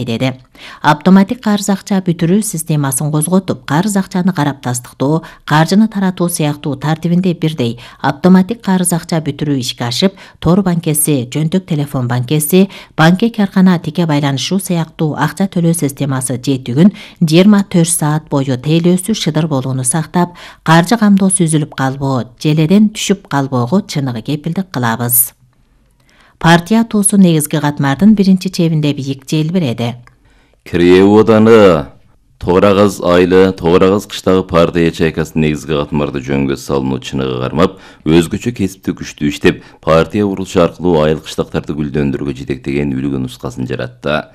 мындай деди. Автоматик карыз акча бүтүрүү системасын козготуп, карыз акчаны карап тастыктоо, каржыны таратуу сыяктуу тартибинде бирдей автоматик карыз акча бүтүрүү ишке ашып, тор банкеси, жөнтөк телефон банкеси, банке каркана тике байланышуу сыяктуу акча төлөө системасы жетигүн 24 саат бою тейлөөсү шыдыр болууну сактап, каржы камдоосу үзүлүп калбоо, желеден түшүп калбоого чыныгы кепилдик кылабыз. Партия туусу негизги катмардын биринчи чебинде бийик желбиреди. Кирүү оданы Тоғрағыз айлы, Тоғрағыз кыштагы партия ячейкасынын негизги катмарды жөнгө салынуу чыныгы кармап, өзгөчө кесипти күчтүү иштеп, партия курулушу аркылуу айыл кыштактарды гүлдөндүрүүгө жетектеген үлгү нускасын жаратты.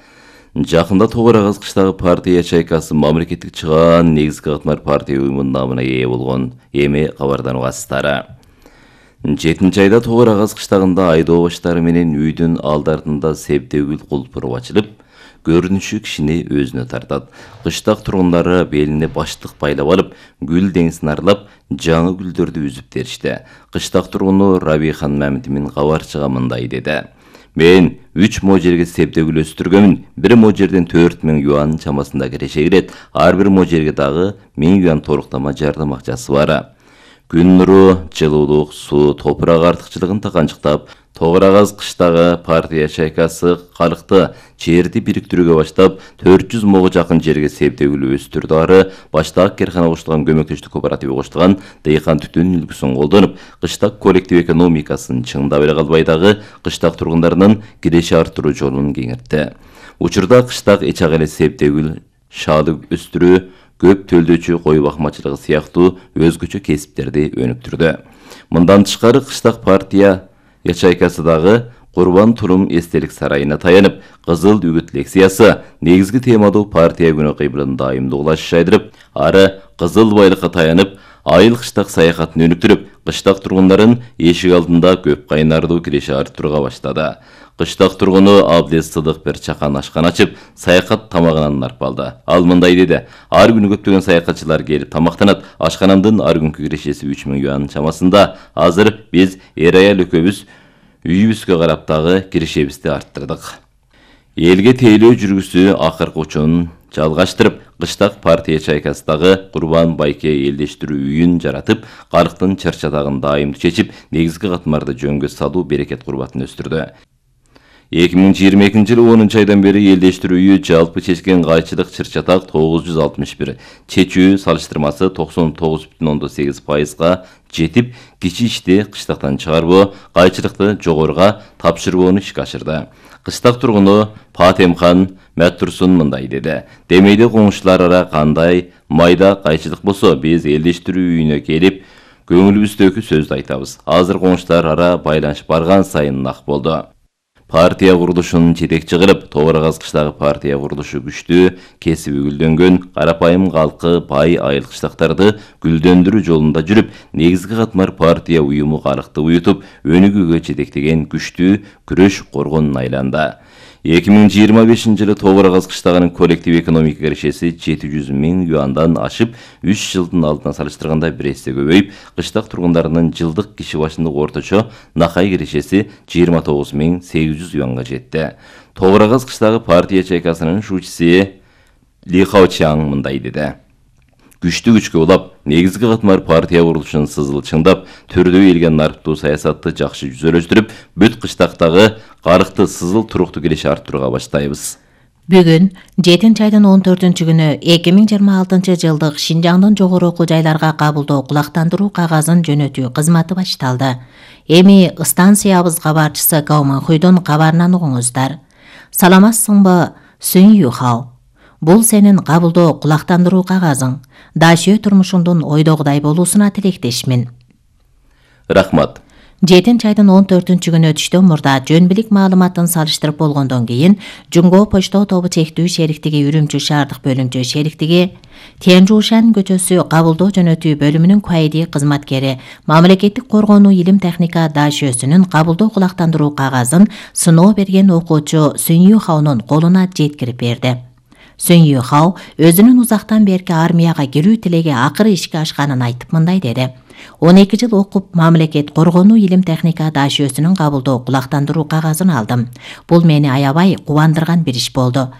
Жакында Тоғрағыз кыштагы партия ячейкасы мамлекеттик чыгаан негизги катмар партия уюмунун намына ээ болгон. Эми кабардануңуздар. 7 айда Тоғрағыз кыштагында айдоо баштары менен үйдүн алдартында себдегүл кулпуру ачылып, көрүнүшү кишини өзүнө тартат. Кыштак тургундары белине баштык байлап алып, гүл деңизин аралап, жаңы гүлдөрдү үзүп беришти. Кыштак тургуну Рабихан Мамитовдун кабарчыга мындай деди. Мен 3 можерге себдегүл өстүргөмүн. Бир можерден 4000 юан чамасында киреше кирет. Ар бир можерге дагы 1000 юан торуктама жардам акчасы бар. Күн нуру, жылуулук, суу, топурак артыкчылыгын таканчыктап, Тоғрағыз кыштагы партия ячейкасы калкты жерди бириктирүүгө баштап, 400 мыңга жакын жерге себдегүл өстүрдү. Ары баштак керкана коштулган көмөктөштүк кооперативи коштулган дыйкан түтүн үлгүсүн колдонуп, кыштак коллектив экономикасын чыңдап эле калбай дагы кыштак тургундарынын киреше арттыруу жолун кеңейтти. Учурда кыштак эчак эле себдегүл, шаалы өстүрүү, көп төлдөөчү кой бакмачылыгы сыяктуу өзгөчө кесиптерди өнүктүрдү. Мындан тышкары кыштак партия ячейкасы дагы Курбан Турум эстелик сарайына таянып, кызыл үгүт лекциясы негизги темадуу партия күнү кыйбылын дайымдуулаш жайдырып, ары кызыл байлыкка таянып, айыл кыштак саякатын өнүктүрүп, кыштак тургундарын эшик алдында көп кайнардуу киреше арттырууга баштады. Кыштак тургуну Абдез Сыдыкбер чакан ашкан ачып, саякат тамагынан нарпалды. Ал мындай деди: ар күнү көптөгөн саякатчылар келип тамактанат. Ашканамдын ар күнкү кирешеси 3000 юан чамасында. Азыр биз эр-аял экөөбүз үйүбүзгө карап дагы кирешебизди арттырдык. Элге тейлөө жүргүсү акыркы учунун жалгаштырып, кыштак партия ячейкасындагы Курбан Байке элдештирүү үйүн жаратып, калктын чарчатагын дайымдуу чечип, негизги катмарды жөнгө салуу берекет курбатын өстүрдү. 2022 жылы 10 айдан бери элдештирүү үйү жалпы чечкен кайчылык чыр-чатак 961, чечүү салыштырмасы 99,8%га жетип, кичи ишти кыштактан чыгарбоо, кайчылыкты жогоруга тапшырбоону ишке ашырды. Кыштак тургуну Патемхан Мәттурсун мындай деди: демейде коңшулар ара кандай майда кайчылык болсо, биз элдештирүү үйүнө келип, көңүлүбүздөгү сөздү айтабыз. Азыр коңшулар ара байланыш барган сайын нак болду. Партия курулушунун жетекчи кылып, Тоғрағыз кыштагы партия курулушу күчтүү, кесиби гүлдөнгөн, карапайым калкы бай айыл кыштактарды гүлдөндүрүү жолунда жүрүп, негизги катмар партия уюму калкты уютуп, өнүгүүгө жетектеген күчтүү күрөш коргонуна айланды. 2025 жылы Тоғрағыз кыштагынын коллектив экономика кирешеси 700 000 юандан ашып, 3 жылдын алдына салыштырганда 1 эсе көбөйүп, кыштак тургундарынын жылдык киши башындык орточо накай кирешеси 29 800 юанга жетти. Тоғрағыз кыштагы партия ячейкасынын шуучусу Ли Хаочаң мындай деди: күчтүү күчкө улап, негизги катмар партия курулушун сызыл чыңдап, түрдүү элге нарптуу саясатты жакшы жүзөлөштүрүп, бүт кыштактагы калкты сызыл туруктуу киреше арттырууга баштайбыз. Бүгүн 7 айдын 14 күнү 2026 жылдык Шинжаңдын жогору окуу жайларга кабылдоо кулактандыруу кагазын жөнөтүү кызматы башталды. Эми станциябыз кабарчысы Гауман Хуйдун кабарынан угуңуздар. Саламатсыңбы, Сүн Юхао? Бул сенин кабылдоо кулактандыруу кагазың. Дашөө турмушуңдун ойдогудай болуусуна тилектешмин. Рахмат. 7 айдын 14 күнү түштөн мурда жөн билик маалыматын салыштырып болгондон кийин Жунго почтоо тобу чектүү шериктиги Үрүмчү шаардык бөлүмчө шериктиги Тянжушан көчөсү кабылдоо жөнөтүү бөлүмүнүн куайди кызматкери мамлекеттик коргонуу илим техника дашөөсүнүн кабылдоо кулактандыруу кагазын сыноо берген окуучу Сүн Юхаонун колуна жеткирип берди. Сүн Юхао өзүнүн узактан берки армияга кирүү тилеги акыры ишке ашканын айтып мындай деди: 12 жыл окуп, мамлекет коргонуу илим техника дашөөсүнүн кабылдоо кулактандыруу кагазын алдым. Бул мени аябай кубандырган бир иш болду.